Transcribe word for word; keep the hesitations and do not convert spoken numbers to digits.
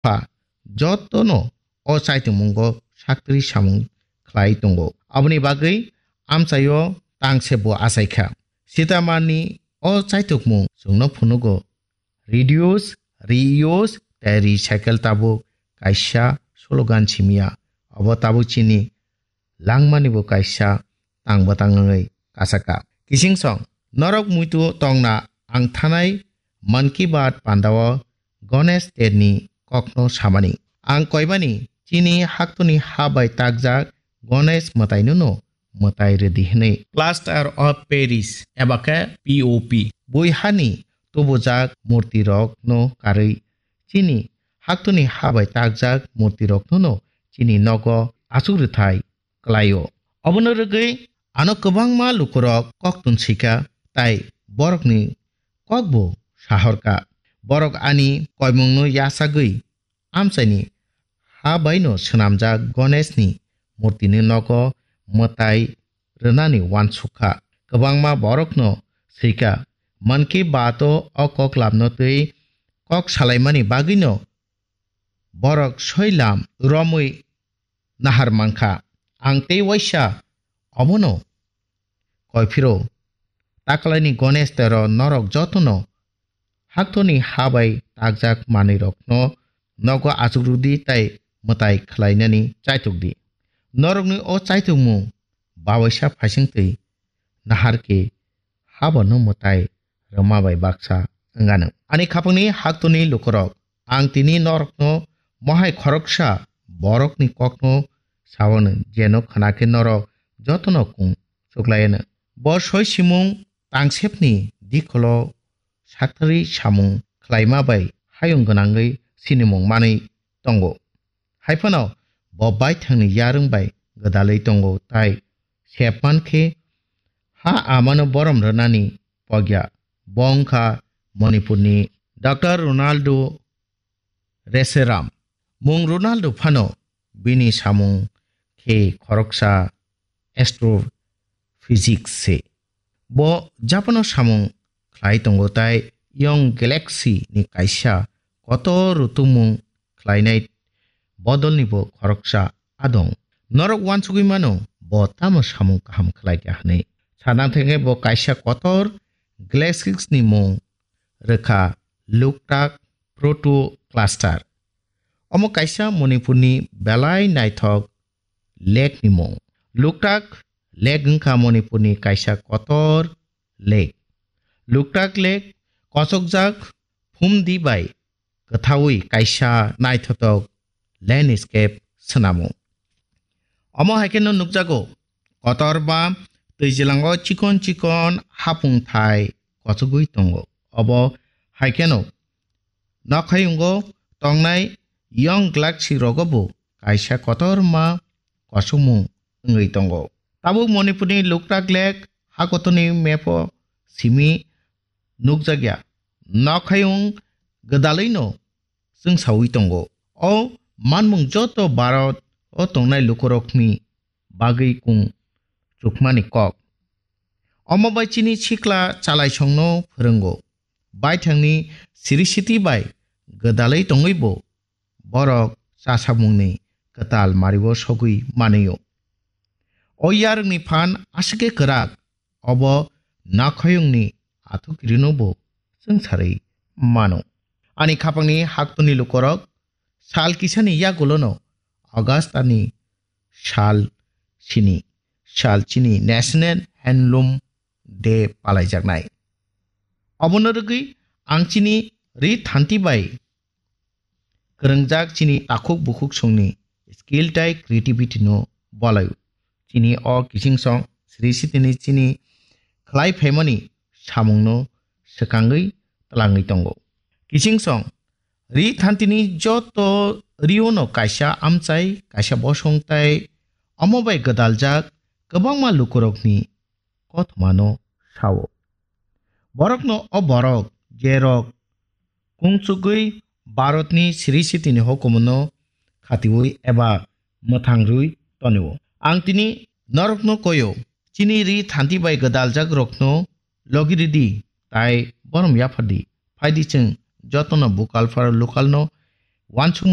pha jotono o chaitokmungo saktri samung khlai tongo. Aboni bagwi amchaio tangse bo achaikha. Sitamani o chaitokmung chwngno phunugo reduce, reuse tei recycle tabuk kaisa slogan simiya. Obo tabuk chini langmani bo kaisa tang bwtang wngwi kasaka. Kiching song, norok muitu tongna ang thanai Mann Ki Baat pandao Ganesh Terni kokno samani. Ang koimani chini haktoni ha bai takjak Ganesh mwtainono mwtai rwdi hwnwi. Plaster of Paris eba khe P O P bui hani tubujak murtirokno karwi chini haktoni ha bai takjak murtiroknono chini nogo achuk rwthai klaio. Obono rwgwi ano kwbangma lukurok koktun sika tai borokni kokbo sahorka. Borok ani koimungno yachagwi amchaini ha baino swnamjak Ganeshni murtini nogo mwtai rwnani uansukha. Kwbangma borokno swika, Mann Ki Baat-o o kok lamno twi kok salaimani bagwino borok soi lam romwi nahar mankha. Ang tei waisa obono koiphiro. Taklaini Ganesh tero norok jotono haktorni ha bai takjak manwirokno nogo achuk rwdi tai mwtai khlainani chaitok di. Norokni o chaitokmung bawaisa phaisingtwi nahar khe habo no mwtai rwma bai baksa wngano. Ani khapangni haktorni lukurok, ang tini norokno mohai khoroksa borokni kokno saono, jeno khna khe norok jotono kung chuklaiyano. Bo soi simung tangsepni dikholo saktharwi samung khlaima bai hayung gwnangwi sinimung manwi tongo. Hai phano bo baithangni yarwng bai gwdalwi tongo, tai sepman khe ha amano borom rwnani pogya. Bo wngkha Manipurni Doctor Ronaldo Reseram. Mung Ronaldo phano bini samung khe khoroksa astrophysics se. Bo Japan-o samung khlai tongo tai Young Galaxy ni kaisa kotor rutumung khlainai bodolni bo khoroksa adong. Norok uansugwi mano bo tamo samung kaham khlai kha hwnwi. Sadang thangkhe bo kaisa kotor galaxies ni mung rwkha Loktak Proto Cluster. Omo kaisa Manipurni belai naithok lake ni mung. Loktak Lake wngkha Manipurni kaisa kotor lake. Loktak Lake kochokjak phumdi bai kwthaui kaisa naithotok landscape swnamo. Omo hai kheno nukjago, kotorma twijlango chikon chikon hapung thai kochogwi tongo. Obo hai kheno nokhayungo tongnai Young Galaxy rogo bo kaisa kotorma kosongmung wngwi tongo. Tabuk Manipurni Loktak Lake hakotorni map-o simi nukjakya. Nokhayung gwdalwino chwngsaui tongo. O manmung joto Bharat-o tongnai lukurokni bagwi kung chukmani kok. Omo bai chini sikla chalaisongno phwrwngo. Baithangni sirisiti bai gwdalwi tongwibo borok chasamungni kwtal mario sogwi manwio. O yarwngni phan aswkhe kwrak, obo nakhayungni athukirino bo chwngsarwi mano. Ani khapangni haktorni lukorok sal kisani yagulono August ani sal sini, sal chini National Handloom Day palaijaknai. Obono rwgwi ang chini ri thanti bai kwrwngjak chini takhuk bukhuk songni skill tai creativity no bolai. Chini o kiching song sri sitini chini khlai phaimani samungno swkangwi twlangwi tongo. Kiching song ri thantini joto riono kaisa amchai, kaisa bosong tai omo bai gwdaljak kwbangma lukurokni kothomano sao. Borokno o borok, jerok kungchugwi Bharatni siri sitini hukumono khatiui eba mwthang rwi tonio. Ang tini norokno koio, chini ri thanti bai gwdaljak rokno logi ridi, tai borom yaphardi. Phaidi chwng jotono bukal pharo lokalno wansukmung